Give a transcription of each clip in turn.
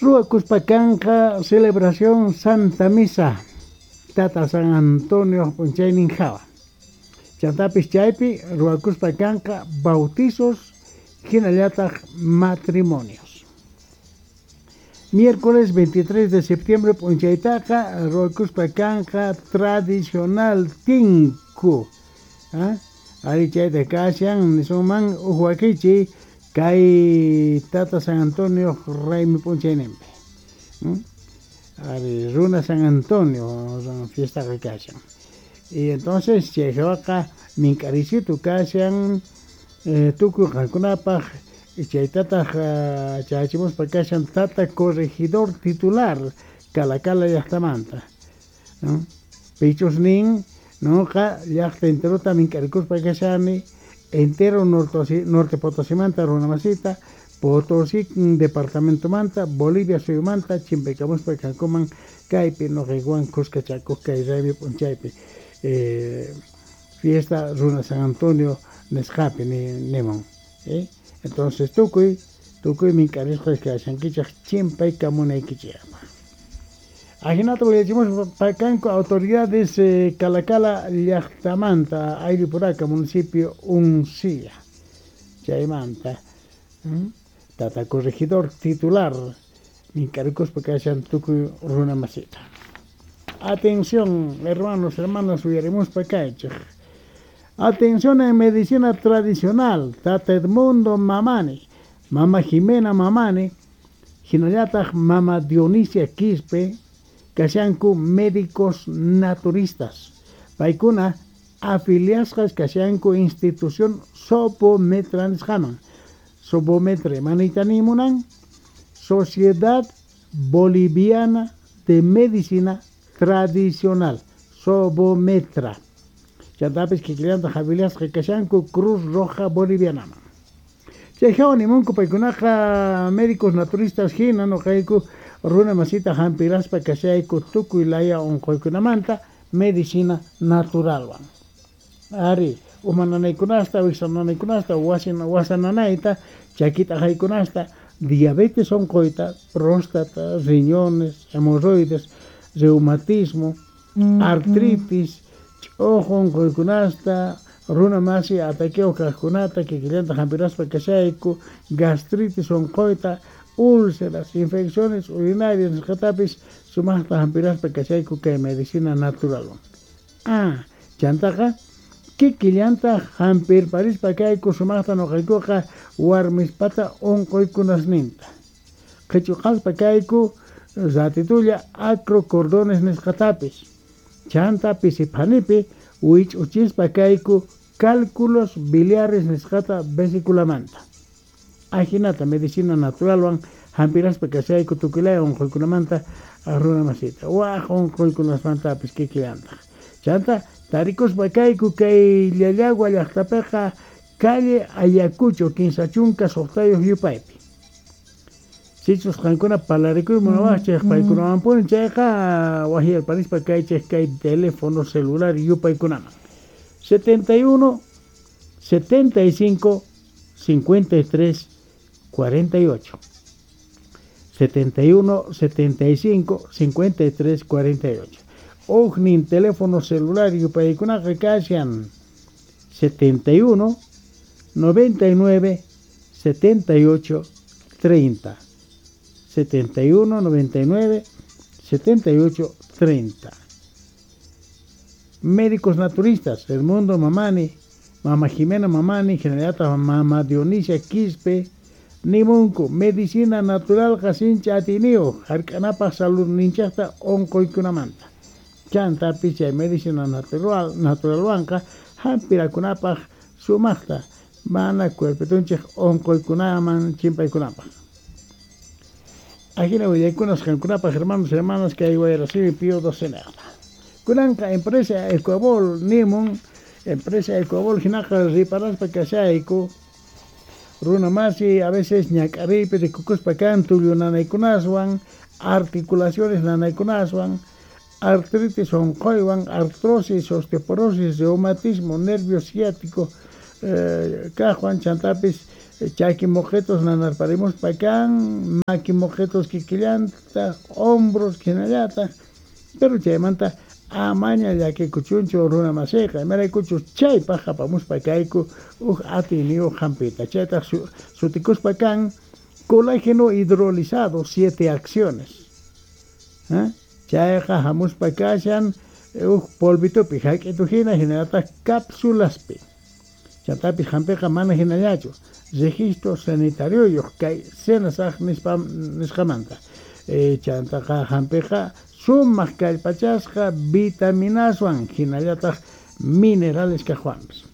Ruwakuspa kanqa celebración Santa Misa Tata San Antonio p'unchaynin jawa. Chantapis chaypi ruwakuspa kanqa bautizos hinallataq matrimonios. Miércoles 23 de septiembre p'unchaytaqa ruwakuspa kanqa tradicional tinku. ¿Ah? Ari chayta kashan nisunman uj wakichiy kay Tata San Antonio raymi p'unchayninpi. Ari runa San Antonio fiestaqa kashan. Y entonces chay jawaqa mink'arisitu kashan tukuy qankunapaq chaytataq chayachimuspa kashan Tata corregidor titular Calacala llaqtamanta. Pichus nin noqa llaqta enterota mink'arikuspa kashani entero norte Potosimanta runamasita Potosí departamentomanta Bolivia suyumanta chimpaykamuspa kankuman kaypi noqaykuwan khuskachakuq kay raymi p'unchaypi fiesta runa San Antonio nisqapi nimun. Entonces tukuy mink'arisqa kashankichej chimpaykamunaykichejpaq. Ajinata willachimuspa kanku autoridades Calacala llaqtamanta Ayllu-Puraka municipio Uncía. Chaymanta Tata corregidor titular mink'arikuspa kashan tukuy runa masita. Atención, hermanos, hermanas, uyarimuspa kaychej. Atención en medicina tradicional, Tata Edmundo Mamani, Mama Jimena Mamani, hinallataq Mama Dionisia Quispe, kashanku médicos naturistas. Paykuna afiliasqas kashanku institución Sopometra nisqaman. Sopometra manita nimunan Sociedad Boliviana de Medicina Tradicional, Sobometra. Chantapis kikillantaq afiliasqa kashanku Cruz Roja Bolivianaman. Chay hawa nimunku paykunaqa médicos naturistas hina noqayku runa masita hampiraspa kashayku tukuy laya unquykunamanta medicina naturalwan. Ari, uma nanaykunasta, wiksa nanaykunasta, wasa nanayta, chakita aqaykunasta, diabetes unquyta, próstata, riñones, hemorroides, reumatismo, artritis, ch'uqu unquykunasta, runa masi ataqueo kaqkunata, kikillanta hampiraspa kashayku, gastritis unquyta, úlceras, infecciones urinarias nisqatapis sumaqta hampiraspa kashayku kay medicina naturalwan. Ah, chantaqa kikillanta hampirparispa kayku sumaqta noqaykuqa warmispata unquykunasninta. Qhichuqaspa kayku ratitulla acrocordones nisqatapis. Chanta pisiphanipi wich'uchispa kayku cálculos biliares nisqata vesiculamanta. Ajinata medicina naturalwan hampiraspa kashayku tukuylaya unquykunamanta runa masita. Waj unquykunasmantapis kikillantaq. Chanta tarikuspa kayku kay Llallagua llaqtapiqa calle Ayacucho 36 yupaypi. Sichus qankuna parlarikuy munawaqchej paykunawanpuni chayqa wajiyarparispa kaychej kay teléfono celular yupaykunaman. 71 75 53 48. 71 75 53 48. Ujnin teléfono celular yupaykunaqa kashan 71 99 78 30. 71 99 78 30. Médicos naturistas, Edmundo Mamani, Mama Jimena Mamani, Generata Mama Dionisia Quispe, Nimunku, medicina natural qasincha atiniyuq, hark'anapaq salud ninchaqta unquykunamanta. Chantapis chay medicina naturalwanqa hampirakunapaq sumaqta mana cuerpitunchik unquykunaman chimpaykunapaq. Ajina willaykunas qankunapaq hermanos y hermanas kay Wayrasimi Pío XII. Kunanqa empresa Ecuabol nimun, empresa Ecuabol hinaqa riparaspa kashayku runa masi a veces ñak'ariypi rikukuspa kan tullu nanaykunaswan, articulaciones nanaykunaswan, artritis unquywan, artrosis, osteoporosis, reumatismo, nervio ciático kaqwan, chantapis Chaki moqetos nanarparimuspa kan, maki moqetos kikillantaj, hombros jinallataj, pero chaymanta amaña llakikuchunchu runa masiyqa, imaraykuchus chaypaj apamuspa kayku uj atiyniyuq jampita, chaytaj sutikuspa kan colágeno hidrolizado 7 acciones. Chayqa jamuspa kashan uj polvitopi, jak'itu jina, jinallataj cápsulaspi. Chantapis jampiqa mana jinallachu, registro sanitarioyuq kay SENASAG nisqamanta. Chantaqa jampiqa sumaq kallpachasqa vitaminaswan jinallataj minerales kajwanpis.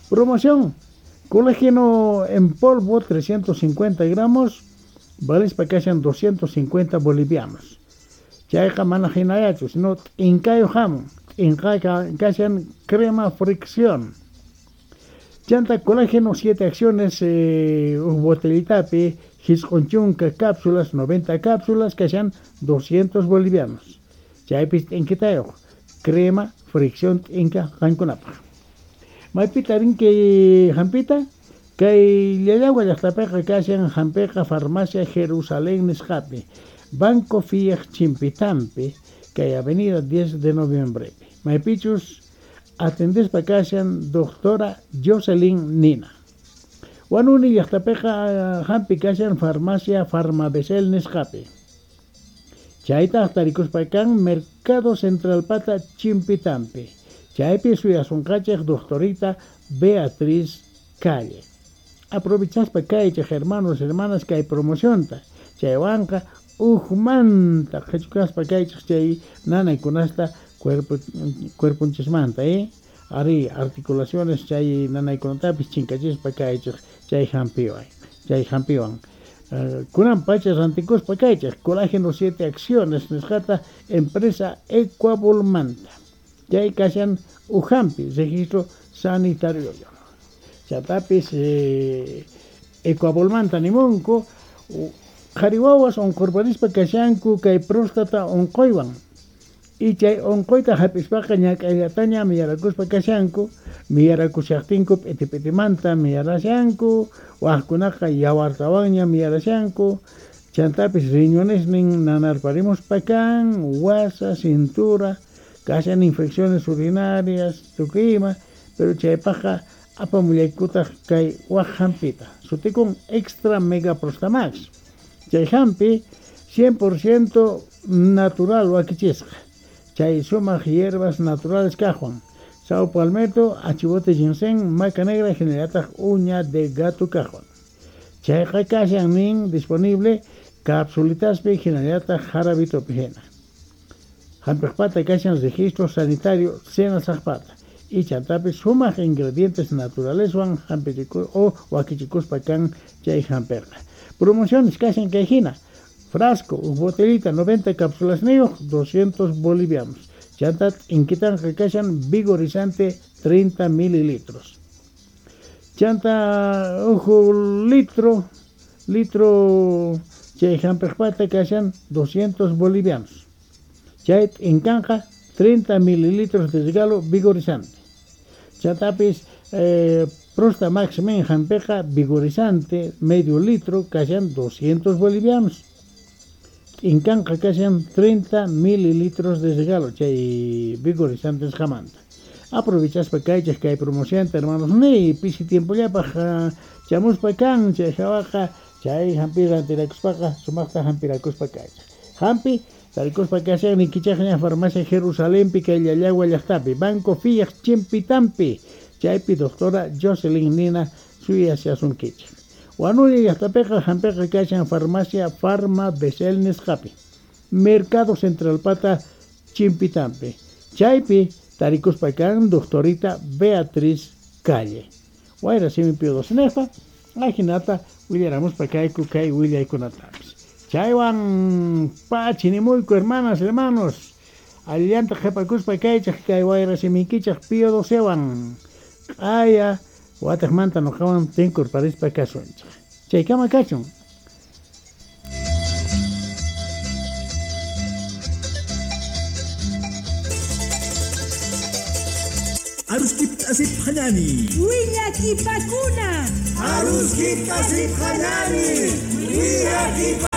Promoción, colágeno en polvo 350 gramos, valispa kashan 250 bolivianos. Chayqa mana jinallachu, sino t'inkayu jamun, t'inqaqa kashan crema fricción. Chanta colágeno 7 acciones, uj botellitapi, jisq'un chunka cápsulas, 90 cápsulas, kashan 200 bolivianos. Chaypis t'inkitayuq, crema fricción t'inka qankunapaj. Maypita rinki jampita, kay Llallagua llaqtapiqa kashan jampiqa farmacia Jerusalén nisqapi, Banco Fiat Chimpitampi, kay avenida 10 de noviembrepi. Maypichus atendespa kashan doctora Jocelyn Nina. Huanuni llaqtapiqa jampi kashan farmacia Farmabesel nisqapi. Chaytaj tarikuspa kan Mercado Central pata Chimpitampi. Chaypi suyasunqachej doctorita Beatriz Calle. Aprovechaspa kaychej hermanos, hermanas kay promocionta. Chaywanqa ujmanta qhichukaspa kaychej chay nanaykunasta cuerponchismanta, Ari articulaciones chay nanaykunatapis chinkachispa kaychej chay jampiwan, chay jampiwan. Kunan pacha rantikuspa kaychej colágeno 7 acciones nisqata empresa Ecuavolmanta. Chay kashan ujampi registro sanitario. Chatapis Ecuavolmanta nimunku qhari wawas unqurparispa kashanku kay próstata unquywan. Y chay unquyta hap'ispaqa ñak'ayllataña miyarakuspa kashanku, miyarakushaqtinku p'iti-p'itimanta miyarashanku, wajkunaqa yawartawanña miyarashanku, chantapis riñonesnin nanarparimuspa kan, wasa, cintura, kashan infecciones urinarias, tukuy ima, pero chaypaqqa apamullaykutaq kay waj jampita, sutikun Extra Mega Prostamax. Chay jampi 100% natural wakichisqa. Chay sumaq hierbas naturales kajwan. Sao palmetto, achibote ginseng, maca negra, jinallataj uña de gato kajwan. Chayqa kashan nin disponible capsulitaspi jinallataj jarabitopi jina. Jampiqpata kashan registro sanitario SENASAGpata. Y chantapis sumaq ingredientes naturaleswan jampichiku o wakichikuspa kan chay jampiqa. Promociones kashan kay jina. Frasco, uj botellita, 90 cápsulas niyuq, 200 bolivianos. Chanta t'inkitanqa kashan vigorizante 30 mililitros. Chanta uj litro chay jampiqpata kashan 200 bolivianos. Chay t'inkanqa 30 mililitros de regalo vigorizante. Chantapis Prosta Max Men jampiqa vigorizante medio litro kashan 200 bolivianos. T'inkanqa kashan 30 mililitros de regalo chay vigorizantes jamanta. Aprovechaspa kaychej kay promocionta hermanos ni pisi tiempollapaj chamuspa kan chay jawaqa chay jampi rantirakuspaqa sumaqta jampirakuspa kaychej. Jampi tarikuspa kashan nikichajña farmacia Jerusalempi kay Llallagua llaqtapi Banco Fiat Chimpitampi chaypi doctora Jocelyn Nina suyashasunkichej. Huanuni llaqtapiqa jampiqa kashan farmacia Farma Besel nisqapi Mercado Central pata Chimpitampi chaypi tarikuspa kan doctorita Beatriz Calle. Wayra simi Pío doce ajinata willaramuspa kayku kay willaykunatapis. Chaywan pachinimuyku hermanas, hermanos, allanta qhipakuspa kaychej kay wayra simiykichej Pío docewan q'aya watejmanta noqawan tinkurparispa kasunchej. Chaykama kachun. Aruskiptasipqañani. Willakipakuna. Aruskiptasipqañani. Willakipakuna.